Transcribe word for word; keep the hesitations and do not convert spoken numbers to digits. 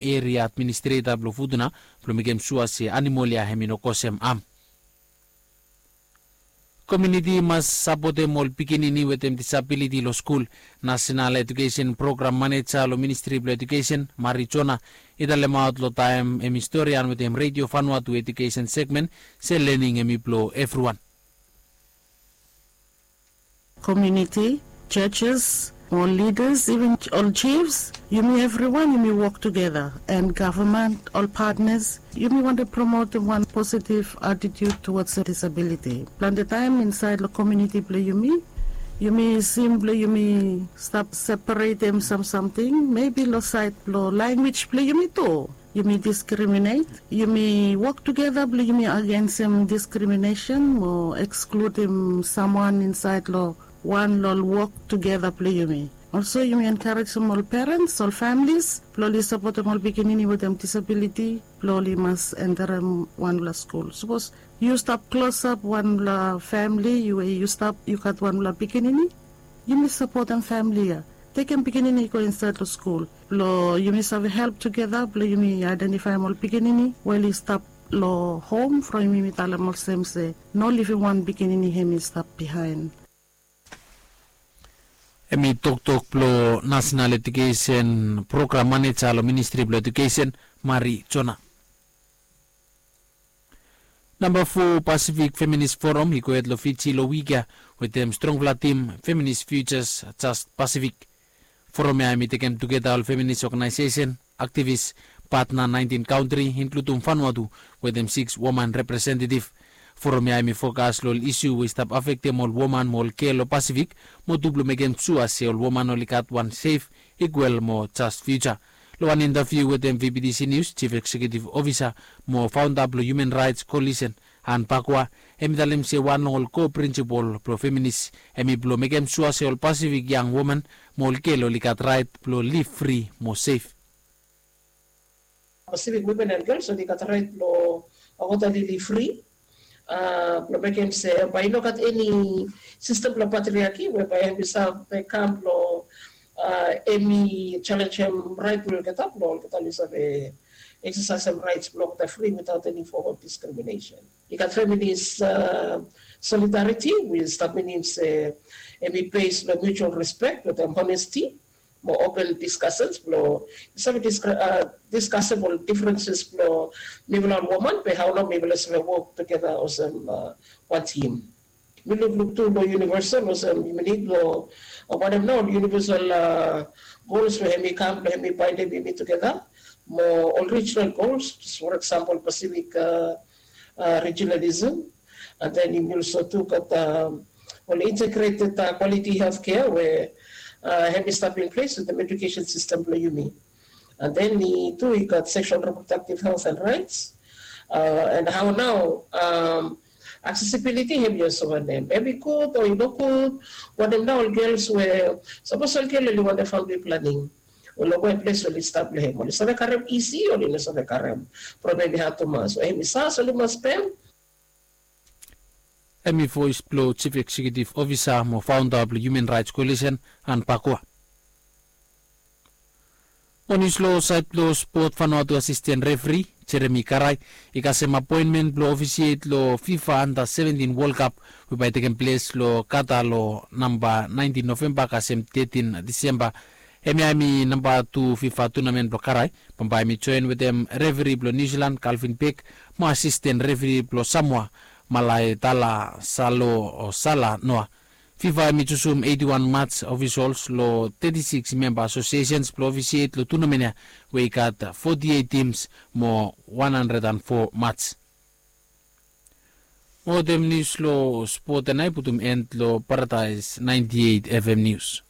eria administreta blong Futuna blong mekem sua se animol ya hem i no kosem am. Komiuniti i mas sapotem ol pikinini wetem disabiliti long skul. Nasenal Ejukesen Program Maneja long Ministri blong Ejukesen, Mari Jona, i talemaot long taem hem i storian wetem Redio Vanuatu Ejukesen Segmen se lening hem i blong evriwan. Komiuniti, churches, ol lidas, iven ol jifs, yumi evriwan yumi wok tugeta, an gavman, ol patnas, yumi wantem promotem wan positiv atitiut tuwads disabiliti. Plante taem insaed long komiuniti blong yumi, yumi sim blong yumi stap separetem sam samting, mebi long saed blong lanwis blong yumi tu. Yumi diskriminet, yumi wok tugeta blong yumi agensem diskriminesen mo ekskludim samwan insaed long wan long ol wok tugeta blong yumi. Olso yumi enkarejem ol perens, ol famlis blong oli sapotem ol pikinini wetem disabiliti blong oli mas enterem wanfala skul. Sapos yu stap klosap wanfala famli we yu stap yu gat wanfala pikinini, yumi sapotem famli ya. Tekem pikinini i go insaed long skul blong yumi save help tugeta blong yumi aedentifaem ol pikinini we oli stap long hom from yumi talem olsem se no livim wan pikinini hem i stap bihaen. Hem i toktok blong Nasenal Ejukesen Program Maneja long Ministri blong Ejukesen, Mari Jona. Namba fo Pasifik Feminis Foram i gohed long Fiji long wik ya wetem strongfala tim Feminis Futures Just Pasifik. Foram ya hem i tekem tugeta ol feminis oganaesesen, aktivis, patna naentin kantri, inkludum Vanuatu, wetem siks woman representetif. Foram ya hem i fokas long ol isu we i stap afektem ol woman mo ol gel long Pasifik, mo tu blong mekem sua se ol woman oli gat wan sef, ikwal mo jas fiuja. Long wan intaviu wetem V B T C Nius, Jif Eksekiutif Ofisa mo faonda blong Human Raets Koalisen, Ann Bakwa, hem i talem se wan long ol ko prinsipol blong feminis hem i blong mekem sua se ol Pasifik yang woman mo ol gel oli gat raet blong liv fri mo sef. Pasifik wimen an gels oli gat raet blong wokbaot oli liv fri, blong mekem se bae i no gat eni sistem blong patriaki we bae hem i save kam blong hem i jalenjem raet blong olgeta blong olgeta oli save eksesaesem raets blong olgeta fri witaot eni fom of diskriminesen. I gat feminis solidariti we i stap minim se hem i bes long mutual respek wetem honesti mo open diskasens blong i save diskasem ol difrenses blong mifala ol woman be hao nao mifala save wok tugeta olsem wan tim. Mi lukluk tu long univesal olsem yumi nid long wanem nao ol univesal gols we hem i kam blong hem i baendem yumi tugeta mo ol rijinal gols, for eksampol Pasifik rijinalism, and then yumi olso tu gat ol integreted kwaliti heltkea we hem i stap in ples wetem ejukesen sistem blong yumi. And then i tu i gat seksual reprodaktif helt and raets, and hao nao aksesibiliti hem i olso wanem, hem i gud o i no gud? Wanem nao ol gels we sapos ol gel oli wantem famili planing, we long we ples we oli stap long hem oli save karem isi o oli no save karem? Problem i had tumas we hem i sas oli mas spem. Hem i voes blong Jif Eksekiutif Ofisa mo faonda blong Human Raets Koalisen, Ann Bakwa. Mo nius long saed blong spot, Vanuatu asisten refri Jeremi Karai i kasem apoenmen blong ofisiet long FIFA Anda seventin Wol Kap we bae i tekem ples long Kata long namba naentin Novemba kasem tetin Disemba. Hemia hem i namba tu FIFA tunamen blong Karai. Bambae hem i joen wetem refri blong Niu Silan Kalvin Bek mo asisten refri blong Samoa Malaetala Salo o Sala Noa. FIFA hem i jusum eiti wan mats ofisols long teti siks memba asosiesens blong ofisiet long tunamen ya we i gat foti eit tims mo wan handred an fo mats. Mo wetem nius long spot ya nao i putum en long Paradaes naenti eit F M nius.